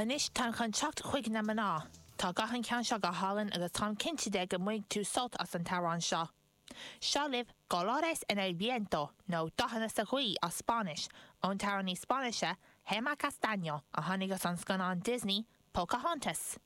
Anois táim chun teacht chuig na mná. Tá guth an cheann seo go hálainn agus táim cinnte de go mbainfidh tú sult as an t-amhrán seo. Seo libh Colores en el Viento, nó Dathanna sa Ghaoth as Spáinnis, ón t-amhránaí Spáinnise Gemma Castaño a tháinig as an scannán Disney, Pocahontas.